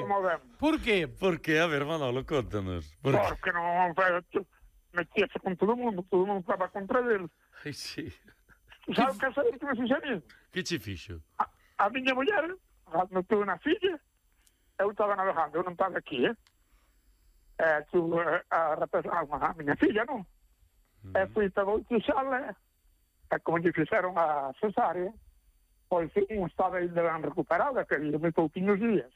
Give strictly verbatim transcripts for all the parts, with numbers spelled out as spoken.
movemos. Por qué? Por que? A ver, Manolo, contanos. Por que? Porque non metíase con todo o mundo, todo o mundo estaba contra eles. Ai, sí. Sabe que sabe que me fixeron? Que che fixo? A, a miña muller, non tuve unha filla, eu estaba navegando, eu non estaba aquí, eh? Eh, tu, eh, a represar a miña filla, non? Mm. E fui para bautizarla, e como lle fixeron a cesárea, pois un estaba ainda ben recuperada, que lle me pouquinhos días.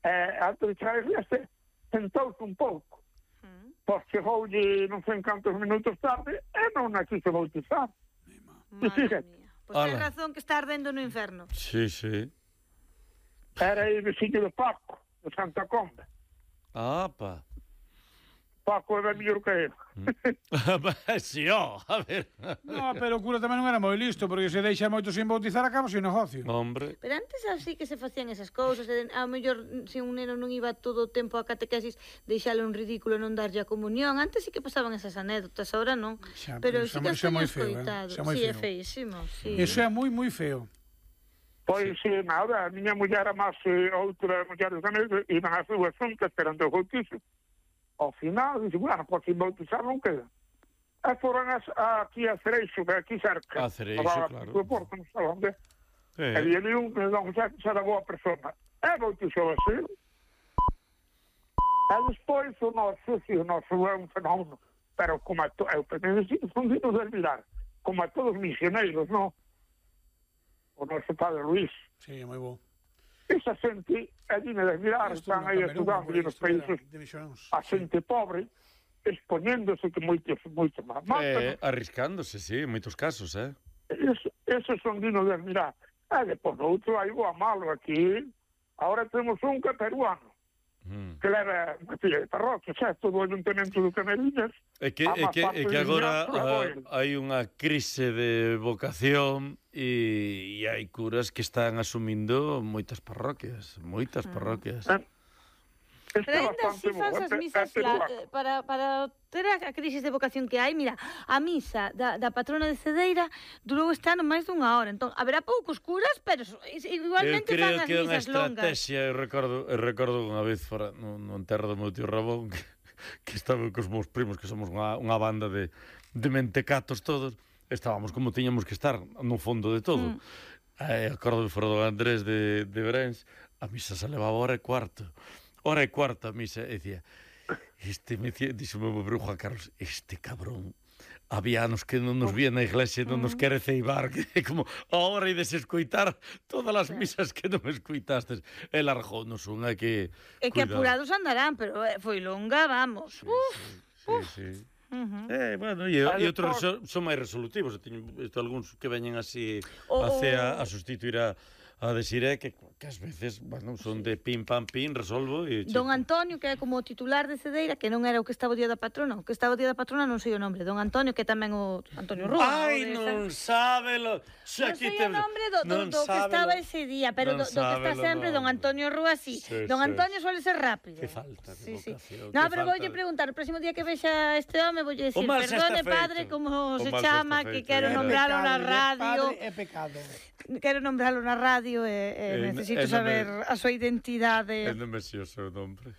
E antes de traerse, tentouse un pouco. Mm. Pois chegoulle non sei en cantos minutos tarde, e non a quise bautizar. Madre mía. Pois pues ten razón que está ardendo no inferno. Sí, sí. Era el veciño de Paco, de Santa Comba. Ah, pa. Paco era mellor que ele. Si, ó, a ver. No, pero o cura tamén non era moi listo, porque se deixa moito sin bautizar acaba sin negocio. Hombre. Pero antes así que se facían esas cousas, e ao mellor se un neno non iba todo o tempo a catequesis, deixalo un ridículo non darlle a comunión. Antes sí que pasaban esas anécdotas, ahora non. Xa, pero xa, sí que xa os moi teño feo, escoitado. eh? Sí, é feísimo, sí. Eso é moi, moi feo. Pois, sí. nada, a miña muller a máis eh, outra muller de Sanese, iban as dúas xuntas esperando o bautizo. Ao final, dixe, bueno, por sin bautizar non queda. E foron as, aquí a Cereixo, que aquí cerca. A Cereixo, claro. A Porto, non sei onde. Eh. E ali un que non xa era boa persona. E bautizou así. E despois o noso, si, o noso é un fenómeno. Pero como a to... eu penso, son dignos de admirar. Como a todos os misioneiros, non? O noso padre Luís. Sí, é moi bo. Esa xente é digna de admirar, están aí estudando nos países a xente pobre, expoñéndose que moitos, moitos máis eh, arriscándose, sí, en moitos casos, eh? Eso, eso son dignos de admirar. E depois outro hai o malo aquí, agora temos un que é peruano, mm. que leva unha filla de parroquia, xa, todo o ayuntamento do Cameriñas. É que, é que, é que agora hai unha crise de vocación e, e hai curas que están asumindo moitas parroquias, moitas parroquias. Eh, Pero ainda así faz as misas para, para ter a crisis de vocación que hai. Mira, a misa da, da patrona de Cedeira durou este ano máis dunha hora. Entón, haberá poucos curas, pero igualmente fan as misas longas. Eu creo que é unha estrategia. Eu recordo, eu recordo unha vez fora no, no enterro do meu tío Rabón que, que estaba cos meus primos, que somos unha, unha banda de, de mentecatos todos. Estábamos como tiñamos que estar no fondo de todo. Mm. Eh, acordo de fora do Andrés de, de Berens, a misa se levaba hora e cuarto. Hora e cuarta a misa, e dicía, este, me dicía, dixo meu meu Juan Carlos, este cabrón, había anos que non nos vía na iglesia, non nos quere ceibar, que é como, ahora ides escoitar todas as misas que non escoitastes. E largounos unha que... É que apurados andarán, pero foi longa, vamos. Sí, uf, sí, uf. sí, sí. Uh-huh. Eh, bueno, e, e outros son, son máis resolutivos. Eu teño visto algúns que veñen así oh, a, a sustituir a a decir é que, que ás veces, bueno, son de pim pam pim, resolvo e... Don Antonio, que é como o titular de Cedeira, que non era o que estaba o día da patrona, o que estaba o día da patrona non sei o nombre, Don Antonio, que tamén o Antonio Rúa. Ai, non sábelo. Non sei o nombre do, do, do que estaba ese día, pero do, do que está sempre Don Antonio Rúa, sí. sí Don Antonio sí. suele ser rápido. Que falta de sí, vocación. Sí. No, pero voulle preguntar, o próximo día que vexa este home, voulle decir, perdone, padre, como se chama, que quero nombralo na radio. É pecado. Quero nombralo na radio e... necesito eh, saber me... a súa identidade. É non me xeo o seu nombre.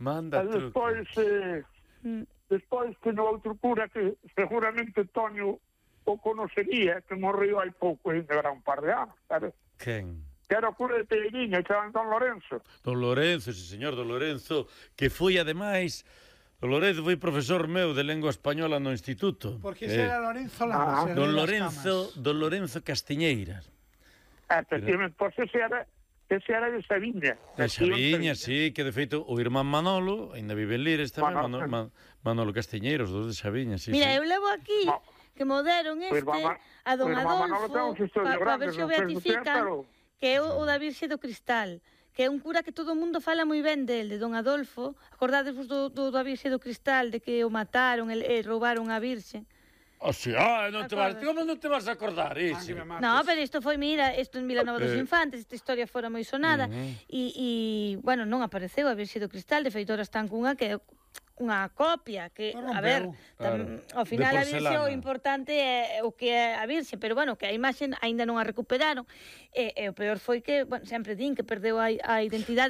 Manda truco. Despois, eh, mm. despois que no outro cura que seguramente Toño o conocería, que morreu hai pouco, ainda era un par de anos, sabes? Quen? Que era o cura de Peiriña, que era Don Lorenzo. Don Lorenzo, sí, señor, Don Lorenzo, que foi, ademais... Don Lorenzo foi profesor meu de lengua española no instituto. Porque ese eh. era Lorenzo Lamas. Ah. Don Lorenzo, Don Lorenzo Castiñeiras. Efectivamente, pois ese era, ese era de Sabiña. De Sabiña, sí, que de feito o irmán Manolo, ainda vive en Lires tamén, Manolo, Manolo, Manolo Castiñeiros, dos de Sabiña, sí. Mira, sí. eu levo aquí no. que me deron este irmán, a Don Adolfo, para pa ver se o beatifican, pero... que é o, o da Virxe do Cristal, que é un cura que todo o mundo fala moi ben del, de Don Adolfo. Acordadevos do, do, da Virxe do Cristal, de que o mataron e, e roubaron a Virxe. O sea, ah, non te vas, como non te vas a acordar iso? No, pero isto foi, mira, isto en Vilanova dos Infantes, esta historia fora moi sonada, e, e, bueno, non apareceu a Virxe do Cristal, de feito, ahora están cunha que unha copia, que, a ver, tam, claro. ao final a Virxe o importante é o que é a Virxe, pero, bueno, que a imaxe aínda non a recuperaron, e, e o peor foi que, bueno, sempre din que perdeu a, a identidade.